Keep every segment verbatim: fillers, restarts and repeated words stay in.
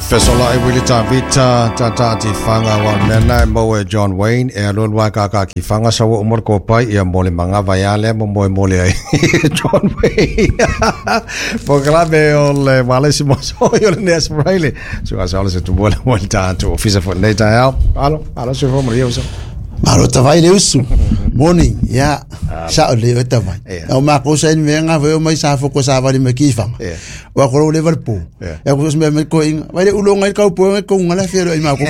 Fesola e Willie Tavita tata ti whanga wa mena e mo e John Wayne e alo lua kaka ki whanga sa wa umor ko pai ia mole manga vaiale mo moe mole ai John Wayne po klame o le wale si mo so yo le nes Riley so asa ole se tu mole mole tanto ofisa fo nei ta au alo alo se fo mo so Malo tawai le usu. Morning, ya. Sa le o tawai. O ma ko sa ni nga ve o mai sa fo ko sa vali me ki fanga. Wa ko le val po. Ya ko se me ko inga. Vai le ulo ngai ka po ko ngala fiero i ma ko.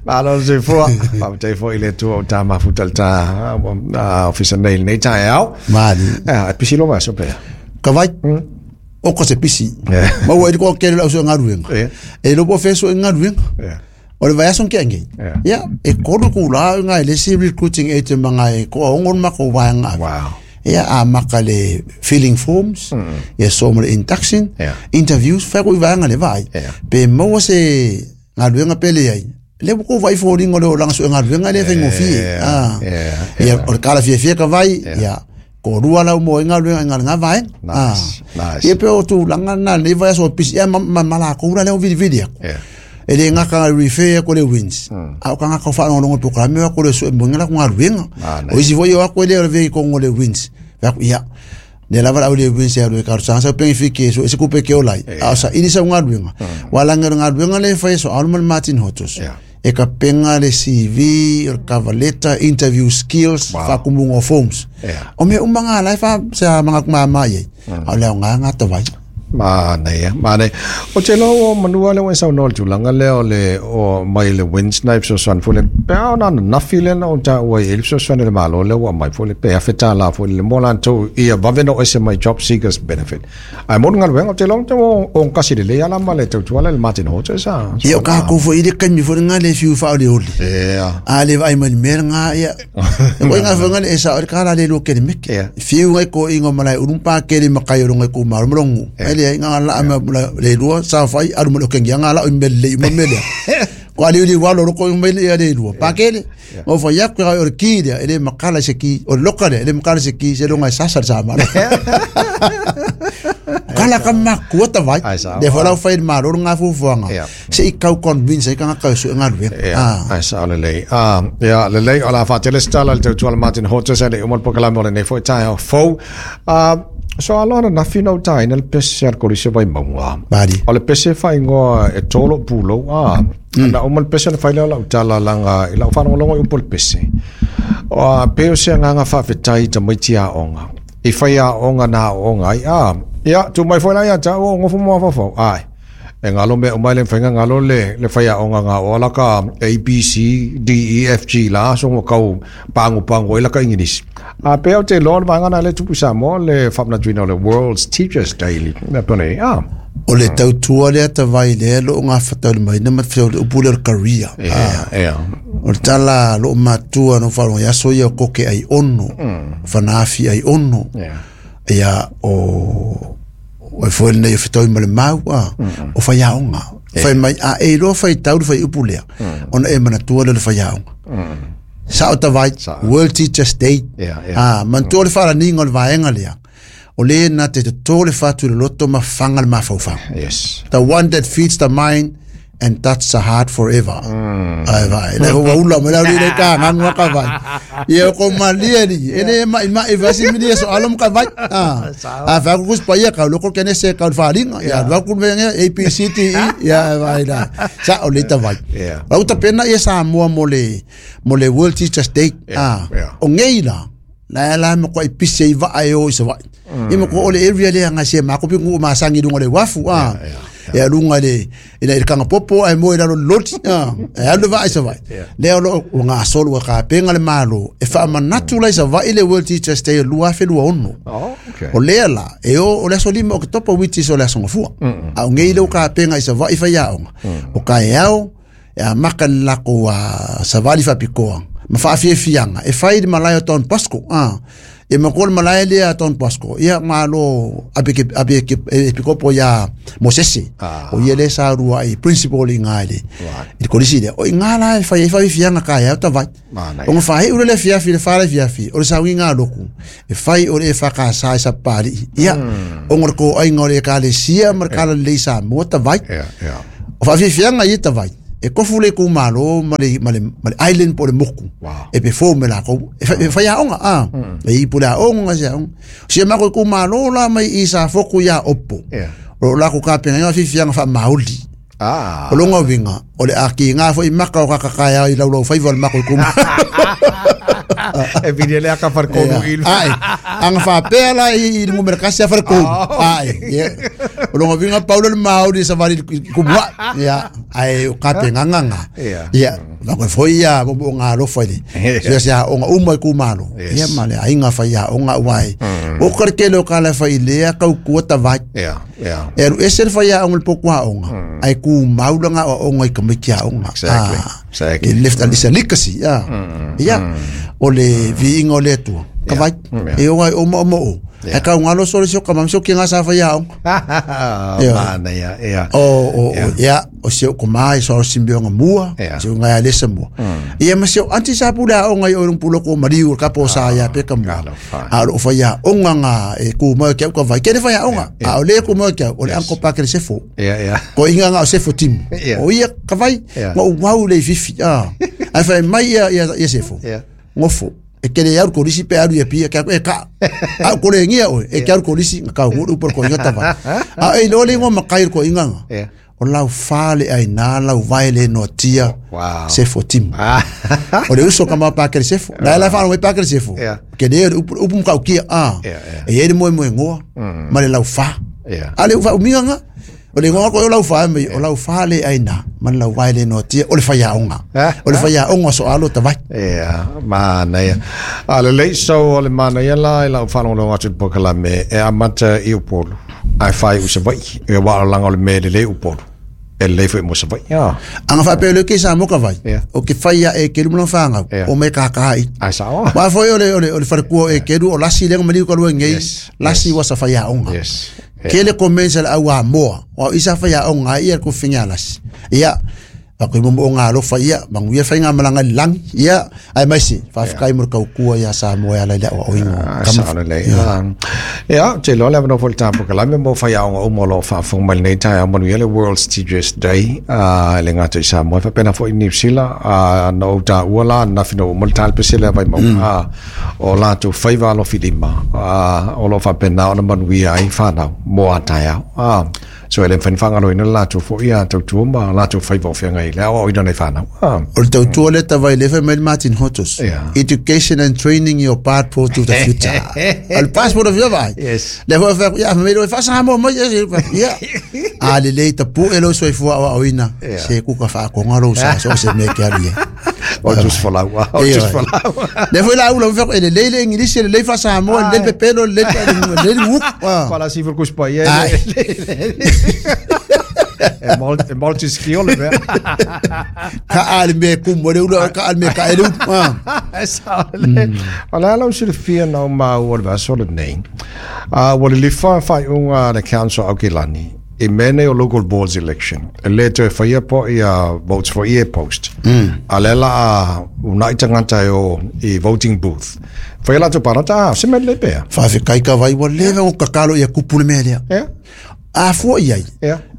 Malo se fo. Pa te fo ile tu o ta ma futal ta ofisa nei nei ta au. Mali. Ah, pisi lo va so pe. Ka vai. O ko se pisi. Ma wa ko ke le so ngaruenga. E lo po feso ngaruenga. O le vai son ke ngi. Ya, e koru ku la nga le si recruiting agent manga e ko ongon ma ko wanga. Wow. Ya a makale filling forms, ya so mo induction, interviews fa ko wanga le vai. Pe mo se ngaruenga pele ai. Le ko vai fo ringo le langa so ngaruenga le fengo fi. Ah. Ya o kala fi fi ka vai. Ya. Ko rua lau mo inga lunga inga nga vai. Nice. Nice. Ye pe o tu langa na le vai so pisi ya ma ma la ko ura le o vidi vidi. E le nga ka refer ko le wins. A o ka nga ka fa no po ka me ko le so mo nga ko nga ruenga. O isi voi o ko le ve ko ngo le wins. Ya. Ne la va le wins ya le ka sa sa pe fi ke so se ko pe ke o lai. A sa ini sa nga ruenga. Wala nga nga ruenga le fa so Alman Martin Hotos. E ka penga le C V, o cover letter, interview skills, wow. Fa kumungo forms. Yeah. O me umanga lai fa sa mga kumama ye. Mm. O leo nga nga tawai. Ma nei, ma nei. O te lo manua le sa no tulanga le o le o mai le wind snipes o san fule. Pa na na file na o ta o e so san le malo le o mai fule pe afeta la fule le mola to ia vaveno ese mai job seekers benefit. Ai mo ngal wenga te lo te o o kasi le ala ma le te tuala le Martin Hote sa. Ia ka ko fo ile kami fo nga le fiu fa le oli. Yeah. A le vai mai mer nga ia. O nga fo nga le sa o ka la le lo ke le mek. Fiu ngai ko ingo malai urumpa ke le makai ro ngai ko marmrongu. Le nga la ma le lua sa fai aru mo ke nga la o mele mo mele ko ali li walo ko mele ya le lua pa ke le o fa ya ko o ki le le makala se ki o lokale le makala se ki se lo ngai sa sa sa ma kala ka ma ko ta vai de fo la fa ma ro nga fu fu nga se i kau convince ka nga ka su nga lu ah ai sa le le ah ya le le ala fa te le stala le tu Martin Hotes le o mo pokala mo le ne fo ta fo ah. So alona na fino tai nel pese al kolise vai maunga. Bari. O le pese fai ngoa e tolo pulo a. Na o mal pese le fai la utala langa ila o fano longo i pol pese. O a peo se nganga fa fetai ta maiti a onga. I fai a onga na onga ai a. Ya tu mai foi la ya ta o ngofu mo fa fa. Ai. E ngalo me o mai le whainga ngalo le le whai a onga ngā o alaka A B C D E F G la so ngo kau pangu pangu e laka English. A peo te loa vanga na le tupu sa mo le whapna tuina le World's Teachers Daily. Na pone, ah. O le tautua le ata vai le lo ngā whatauri mai na matwhea o le upule o career. Yeah, yeah. O le tala lo matua no wharonga ia so ia koke ai ono, whanaafi ai ono. Ia o... O e fo nei whetau ma le mau a o whai aonga. Whai mai a e roa whai tauru whai upulea. Ona e manatua le whai aonga. Sa o ta vai, World Teachers Day. Ah, mantua le whara ninga o le vaenga lea. O le na te te tō le whatu le loto ma whanga le mawhauwhanga. Yes. The one that feeds the mind and touch the heart forever. Ai vai, le hoa ula me lau le ka ngangua ka vai. Ia ko malia ni, ene ma ma e vasi mi so alom ka vai. Ah. Ah fa ku pa ia ka loko kene se ka faringa. Ya va ku me A P C T E ya vai da. Sa o le ta vai. Au ta pena ia sa moa mo le mo le World Teachers Day. Ah. O ngei la. La la mo ko ipise i va ai o i sa vai. I mo ko o le area le nga se ma ko pingu ma sangi dungo le wafu ah. E alunga le ina i kanga popo ai mo ila lo loti ah e alu vai sa vai le lo nga solo ka penga le malo e fa manatu la sa vai le World Teachers Day lua fe lua ono. Oh, okay. O le la e o o le so lima o topo witi so le so fua a ngi le ka penga i sa vai fa ya o ka e au e a makan la ko a sa vali fa pikoa ma fa fie fianga e fai de malayo ton Pasco ah E ma ko malae le a Don Bosco ia malo ape ke ape ke epikopo ia Mosese o ia le sa rua i principal i ngai le i kolisi le o i ngā la e fai e fai fianga ka ia ta vai o nga fai ule le fia fi le fa le fia fi o le sa winga loku e fai o le fa ka sa sa pali ia o ngor ko ai ngore ka le sia mar ka le sa mo ta vai o fa fi fianga i ta vai e kofu le ku malo ma le ma le ma le island po le moku e pe fo me la ko e fa ya onga a e i pula onga sia si ma ko ku malo la mai i sa foku ya opo o la ko ka pe nga fi fianga fa mauli ah o longa winga o le aki nga fo i maka o ka ka ya i laulau fai vol mako ku e vide le aka far ko il ai anga fa pela i mo mercasi far ko ai o longa winga Paulo le mauli sa vari ku wa ya ai o ka pe nga nga ya va ko foi ya bo nga lo foi ya sia o nga uma ku malo ya male ai nga fa ya o nga wai o ka ke lo ka la fa ile ya ka ku ta vai ya ya e ese fa ya o po kwa o nga ai ku maula nga o nga ka mikia o nga exactly exactly left al isa legacy ya ya o le vi ingo le tu ka vai e o o mo mo e ka ngalo so so ka mamso ki nga sa fa ya o mana ya ya o o ya o se ko mai so simbio nga mua se nga le se mua ia ma se anti sa pula o nga o pulo ko mariu ka po sa ya pe ka mua a o fa ya o nga nga e ku mo ke ko vai ke fa ya o nga a o le ku mo ke o le anko pa ke se fo ya ya ko inga nga o se fo tim o ia ka vai ngo wau le fifi a a fa mai ya ya se fo ngofo e kele ya ko lisi pe aru e pia ka e ka a ko le ngia o e ka ko lisi ka nguru por ko inga tava a e lo le ngo makai ko inga o lau fale ai na lau vai le no tia se fo tim o le uso kama pa ke se fo la la fa no pa ke se fo ke le upu ka ki a e e mo mo ngo ma le lau fa a le fa uminga nga o le ngo ko lau fa me o lau fa le ai na ma lau vai le no tia o le fa ya onga o le fa ya onga so alo ta vai ia mana ia a le le so o le mana ia la lau fa lo atu pokala me e amata i upolu ai fai u se vai e wa langa o le me le le upolu e le foi mo se vai ia anga fa pe le ke sa mo ka vai o ke fai ya e ke lu mo fa nga o me ka ka i ai sa o wa foi o le o le o le fa ku e ke lu o lasi le mo ko lu ngei lasi wa sa fa ya onga yes ke le comenza la awa moa o isa fa ya onga ia ko fingalas ia a ko mo onga lo fa ia mangu ia fa nga malanga lang ia ai mai si fa kai mo ka ku ia sa mo ia la o ingo kam le ia te lo la no volta po la mo fa ya onga o mo lo fa fo mal nei ta mo le World Teachers Day a le ngata sa mo fa pena fo in New Zealand a no ta ula na fino mo tal pesela vai mo a o la tu faiva lo filima a o lo fa pena o mo wi ai fa na mo ata ya a so ele fan fanga lo ina la tu fo ia tu tu ma la tu faiva fi ngai le o ina nei fa na o tu tu le ta vai le fa Martin Hotos education and training your passport to the future al passport of your vai yes le fa ya me lo fa sa mo mo ya a le le ta pu e lo so fo o ina se ku ka fa ko ngalo sa so se me ke ali o just for la o just for la le foi la u fa le le le english le le fa sa mo le pepelo le le le fala si for kuspa ye e molt e molt skill le ka al me ku mo le ka al me ka ele sa le wala la usi fia no ma o va so le nei a wa le fa fa unga le council o Kilani e mene o local boards election e le te fa po ia votes for ear post a le la una itangata o i voting booth fa la to parata se me le pe fa fe kai ka vai wa le o ka kalo ia kupu le me le a fo ia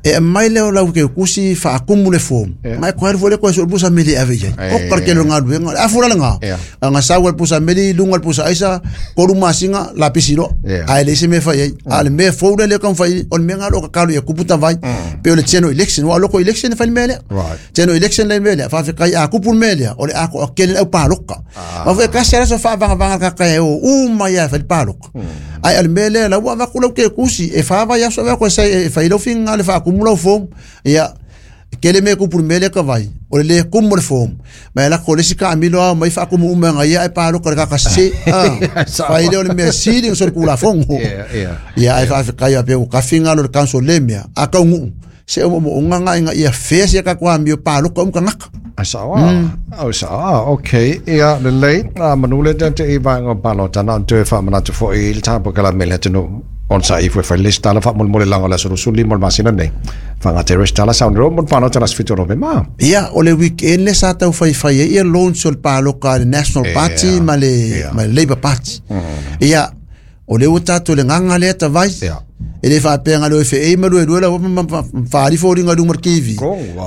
e mai le o lau ke kusi fa akumu le form mai ko le ko so busa meli ave ia o kar ke longa lu a fura nga nga sa wal pusa meli lunga pusa aisa ko lu masinga la pisilo a le se me fa ia a le me fo le kan fa on me nga lo ka kalu ia kuputa vai pe le cheno election wa loko election fa mele cheno election le mele fa fa kai a kupu mele o le a ko ke le pa loka ma fa ka sera so fa va va ka ka o u ma ia fa pa loka ai al mele la wa va ku lo ke kusi e fa va ia so va ko sa e fa ilo finga le fa kumula fo ia kele me ku pumele ka vai o le kumul fo ma la ko le sika amilo mai fa kumu uma ia e pa lo ka ka se fa ile o me siri so ku la fongo ia ai fa ka ia pe o ka finga lo ka so le mea a ka ngu se o mo nga nga ia fe se ka kwa mi pa lo ka ngaka Sawa. Oh, sawa. Okay. Ia lelei a manule te i vaega o palota na toe faamanatu foʻi i le tapokalame le atunuu on sa ifo e fai le resitala faamolemolelaga o le aso luasulu lima o le masina nei fagata e resitala sauni mo le palota le aso fitu o Novema. Ia o le weekend le sa taufaifai ai ia launch o le paloka a le National Party ma le ma le Labour Party. Ia o le ua tatou le gaga lea tavai e le faapea le feei ma lue lue la faali foliga i luga o le T V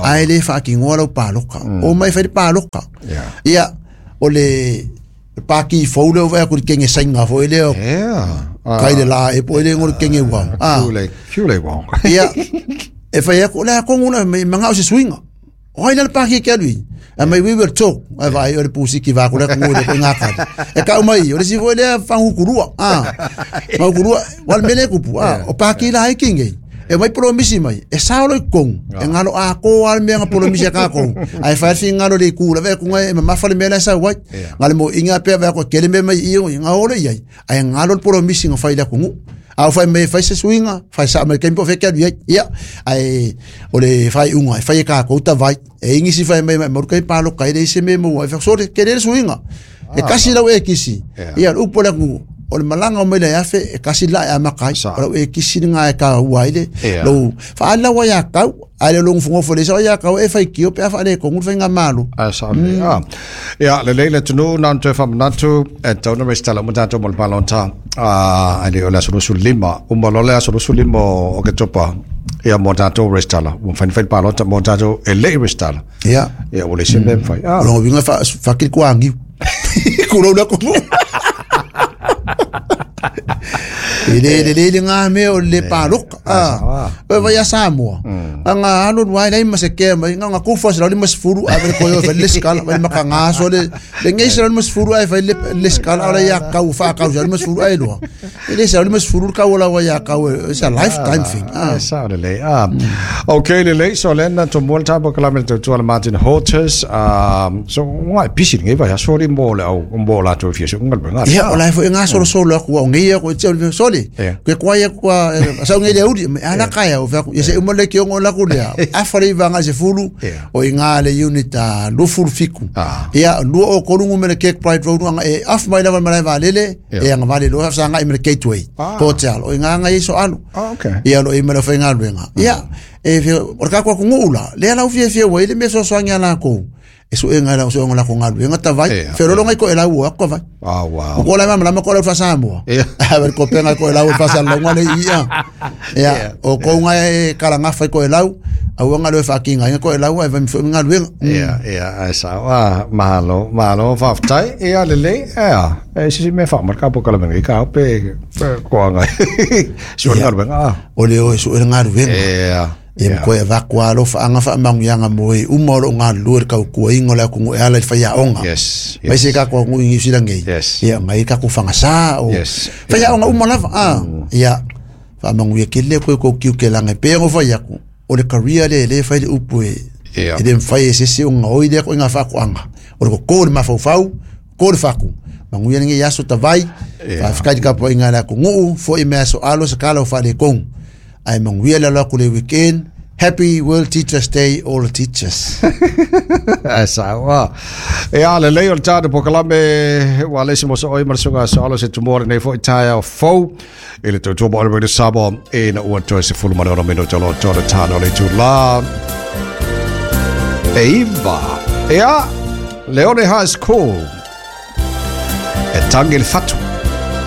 ae le faakigoa lau paloka o mai fai le paloka. Ia o le paki fou lea ua vaai atu i le kege saina foi lea kai le la e po e le ngo le kege ua ia e fai atu le akongu la me manga o se suinga o ai le paki ke alui a mai we will talk a vai o le pusi ki va ko le ngo le ko ngaka e ka mai o le si foi le fangu kurua ah fangu kurua wal mele kupu ah o paki la e kinge e mai promisi mai e sao lo kong e ngalo a ko al me nga promisi ka ko ai fa fi ngalo le ku la ve ku ngai ma fa le mela sa wai ngale mo inga pe va ko kele me mai i nga ole ai ai ngalo promisi nga fa ila ku au fai me fai se suinga fai sa me kempo fe ke ia ai o le fai unga fai ka ko ta vai e ingi si fai me mo kai palo kai le se me mo ai fa so ke le suinga e kasi lau e kisi ia upo la ku o le malanga o mele afe e kasi la e amakai o e kisi nga e ka ua ile lo fa ala wa ya kau ale lo fungo fo le sa ya kau e fai kio pe afa le ko ngu fai nga malo a sa le a ya le le le tunu nan te fa manatu e tau restala mo tato mo palonta a ale o la solution lima o mo la solution lima o ke topa ia mo tato restala mo fai fai palonta mo tato e le restala ya ya o le se me fai a lo vinga fa fa ki ko angi ko lo la ko ele le le ngā me o le paloka a o vai a Samoa anga alo wai lai ma se ke mai nga kufa se le masfuru a ve ko yo le skala vai makanga so le le ngai se le masfuru ai vai le le skala ala ya kau fa kau se le masfuru ai lo ele se le masfuru kau la wa ya kau it's a lifetime thing ah sa le le ah okay le le so le na to mo ta bo kala me to to Martin Hortus um so ngai pisi ngai vai so le mo le au mo la to fi so ngai nga ya o la fo nga so so lo ku ngai ko te sole ke kwa ya kwa sa ngai le uri ala kaya o fa ye se mo le ke ngo la ku le a fa le vanga se fulu o inga le unit a lo fulu fiku ya lu o kolungu me le Cape Pride Road nga e af mai lava mai va lele e nga vale lo sa nga me le Gateway Hotel o inga nga iso alu ya lo e me le fa nga lwenga ya e o ka kwa ku ngula le ala u fie fie wa ile me so so nya la ko eso enga la so ngola ko ngalu enga tavai ferolo ngai ko ela wo ko vai ah wow ko la mama ko la fa Samoa a ver ko penga ko ela wo fa sa la ngale ia ya o ko ngai kala nga fa ko ela au nga lo fa kinga ko ela wo vai ngalu ya ya esa wa malo malo fa tai ia le le ya e si me fa marka po kala mengi ka pe ko ngai so ngalu nga o le o so ngalu ya e mko e vakwa lo fa anga fa mangu yanga moe uma lo nga lu ka ku ingo la ku ala fa ya onga yes mai se ka ko ngi sila ngi ya ngai ka ku fanga sa o fa ya onga uma la fa ya fa mangu ye kele ko ko ki ke la ngai pe ngo fa ya ku o le career le le fa le upu e e dem fa ye se se onga o ile ko nga fa ku anga o ko ko ma fa fa ko le fa ku mangu ye ngi ya so tavai fa fa ka po inga la ku ngu fo i me so alo se kala fa le kong ai mangu ye la la ku le weekend. Happy World Teachers Day, all the teachers. Asa wa. E ala le o tata pokalame wa le se mo so oi marsunga so alo se tomorrow nei fo itaia fo ele to to mo le sabo e na o to se fulu mano meno to to tano le tu la. Eva. Ea Leone High School. E tangel fatu.